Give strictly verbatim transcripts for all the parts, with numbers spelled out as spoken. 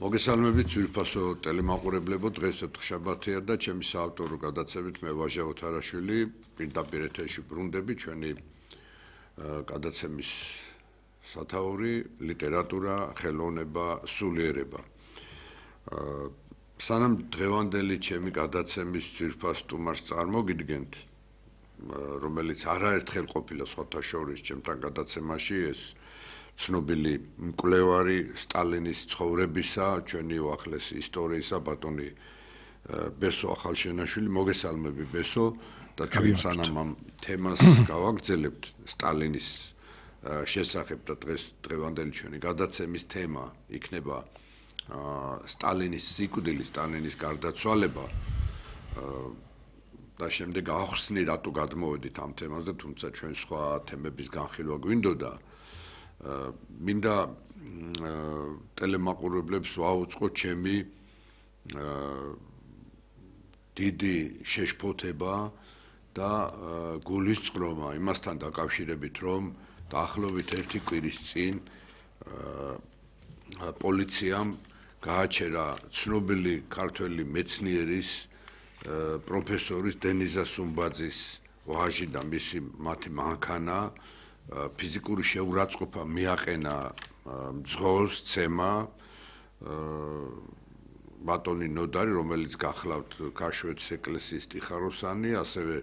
მოგესალმებით ძვირფასო ტელემაყურებლებო, დღეს შაბათია და ჩემი საავტორო გადაცემით მე ვაჟა ოთარაშვილი პირდაპირ ეთერში ბრუნდები ჩვენი გადაცემის სათაური ლიტერატურა, ხელოვნება, სულიერება. სანამ დღევანდელი ჩემი გადაცემის ძვირფას სტუმარს წარმოგიდგენთ, რომელიც არაერთხელ ყოფილა სხვათა შორის ჩემთან გადაცემაში, ეს ცნობილი მკვლევარი სტალინის ცხოვრებისა, ჩვენი უახლესი ისტორიისა ბატონი ბესო ახალშენაშვილი, მოგესალმები ბესო და ჩვენ სანამ ამ თემას გავაგრძელებთ სტალინის შესახებ და დღეს დღევანდელი ჩვენი გადაცემის თემა იქნება სტალინის სიკვდილი, სტალინის გარდაცვალება და შემდეგ ახსნი რატო გადმოვედით ამ თემაზე, თუმცა ჩვენ სხვა თემების განხილვა გვინდოდა. მინდა ტელემაყურებლებს ვაუწყო ჩემი დიდი შეშფოთება და გულისწყრომა იმასთან დაკავშირებით, რომ დაახლოებით ერთი კვირის წინ პოლიციამ გააჩერა ცნობილი ქართველი მეცნიერის პროფესორის დენიზა სუმბაძის ვაჟი და მისი მათი მანქანა ფიზიკური შეურაცხყოფა მიაყენა მძღოლს, ცემა ბატონი ნოდარი, რომელიც გახლავთ ქაშვეთის ეკლესიის ტიხაროსანი, ასევე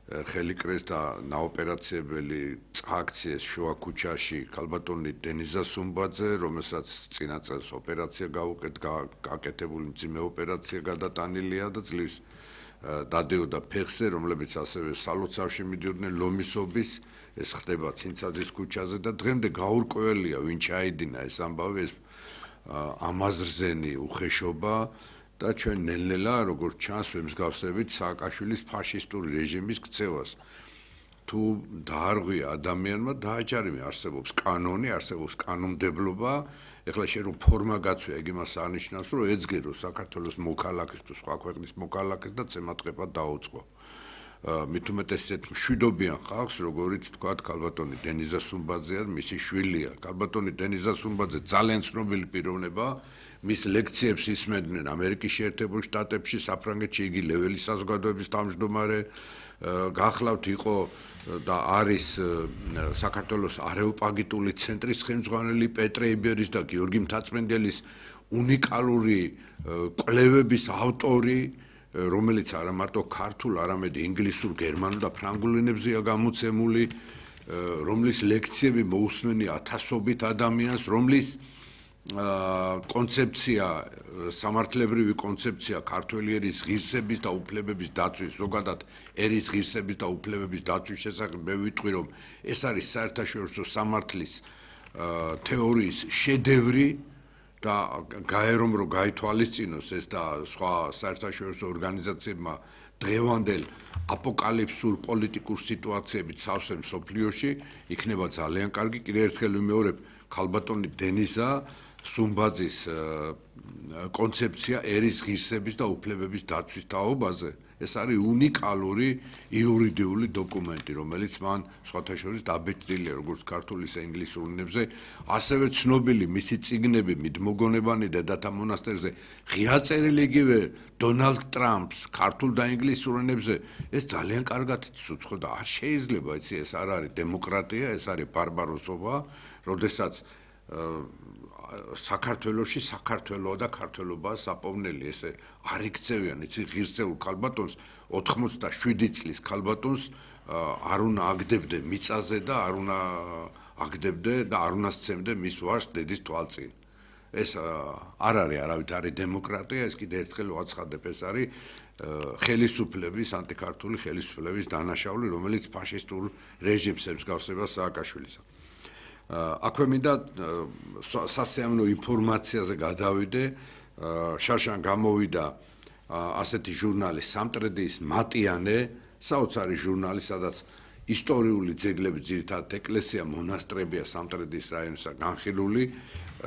ხელიკრეს და ნაოპერაციებელი აქციეს შუა ქუჩაში ქალბატონი დენიზა სუმბაძე, რომელსაც წინა წელს ოპერაცია გააკეთებული, მძიმე ოპერაცია გადატანილია და ძლივს დადეოდა ფეხზე, რომლებიც ასევე სალოცავში მიდიოდნენ ლომისობის, ეს ხდება ცინცაძის ქუჩაზე და დღემდე გაურკვეველია, ვინ ჩაიდინა ეს ამბავი, ეს ამაზრზენი უხეშობა და ჩვენ ნელ-ნელა, როგორც ჩანს, ვემსგავსებით სააკაშვილის ფაშისტური რეჟიმის ქცევას. თუ დაარღვია ადამიანმა, დააჯარიმე, არსებობს კანონი, არსებობს კანონმდებლობა, ეხლა შენ რომ ფორმა გაცვია, ეგ იმას აღნიშნავს, რომ ეძგერო საქართველოს მოქალაქეს თუ სხვა ქვეყნის მოქალაქეს და ცემატყეპად დაუწყო. მით უმეტეს ესეთ მშვიდობიან ხალხს, როგორიც თქვათ ქალბატონი დენიზა სუმბაძე, მისი შვილია. ქალბატონი დენიზა სუმბაძე ძალიან ცნობილი პიროვნება, მის ლექციებს ისმენდნენ ამერიკის შეერთებულ შტატებში, საფრანგეთში, იგი ლეველის საზოგადოების თავმჯდომარე, გახლავთ იყო და არის საქართველოს არეოპაგიტული ცენტრის ხელმძღვანელი პეტრე იბერის და გიორგი მთაწმენდელის უნიკალური კვლევების ავტორი, რომელიც არა მარტო ქართულ, არამედ ინგლისურ, გერმანულ და ფრანგულ ენებზეა გამოცემული, რომლის ლექციები მოусმენია ათასობით ადამიანს, რომლის კონცეფცია, სამართლებრივი კონცეფცია ქართველი ერის ღირსების და უფლებების დაცვის, ზოგადად ერის ღირსების და უფლებების დაცვის შესახებ მე ვიტყვი, რომ ეს არის საერთაშორისო სამართლის თეორიის შედევრი და გაერომ რომ გაითვალისწინოს ეს და სხვა საერთაშორისო ორგანიზაციებმა დღევანდელ აპოკალიფსურ პოლიტიკურ სიტუაციებით სავსე მსოფლიოში იქნება ძალიან კარგი. კიდევ ერთხელ ვიმეორებ, ქალბატონი დენიზა სუმბაძის კონცეფცია ერის ღირსების და უფლებების დაცვის თაობაზე. ეს არის უნიკალური იურიდიული დოკუმენტი, რომელიც მან სხვათა შორის დაბეჭდილია როგორც ქართულ, ისე ინგლისურ ენებზე, ასევე ცნობილი მისი წიგნები მიდმოგონებანი დედათა მონასტერზე, ღია წერილი იგივე დონალდ ტრამპს ქართულ და ინგლისურ ენებზე, ეს ძალიან კარგად იცოცხლო ხო და არ შეიძლება, იცი, ეს არ არის დემოკრატია, ეს არის ბარბაროსობა, როდესაც საქართველოში საქართველოა და ქართველობაა საპოვნელი, ესე არ იქცევიან, იცი, ღირსეულ ქალბატონს, ოთხმოცდაშვიდი წლის ქალბატონს არ უნდა აგდებდე მიწაზე და არ უნდა აგდებდე და არ უნდა სცემდე მის ვაჟს დედის თვალწინ. ეს არ არის არავით არის დემოკრატია, ეს კიდევ ერთხელ ვაცხადებ, ეს არის ხელისუფლების, ანტიქართული ხელისუფლების დანაშაული, რომელიც ფაშისტურ რეჟიმს ემსგავსება სააკაშვილისა. აქვე მინდა სასიამოვნო ინფორმაციაზე გადავიდე, შარშან გამოვიდა ასეთი ჟურნალი სამტრედიის მატიანე, საოცარი ჟურნალი, სადაც ისტორიული ძეგლები, ძირითადად ეკლესია, მონასტრებია სამტრედიის რაიონსა განხილული,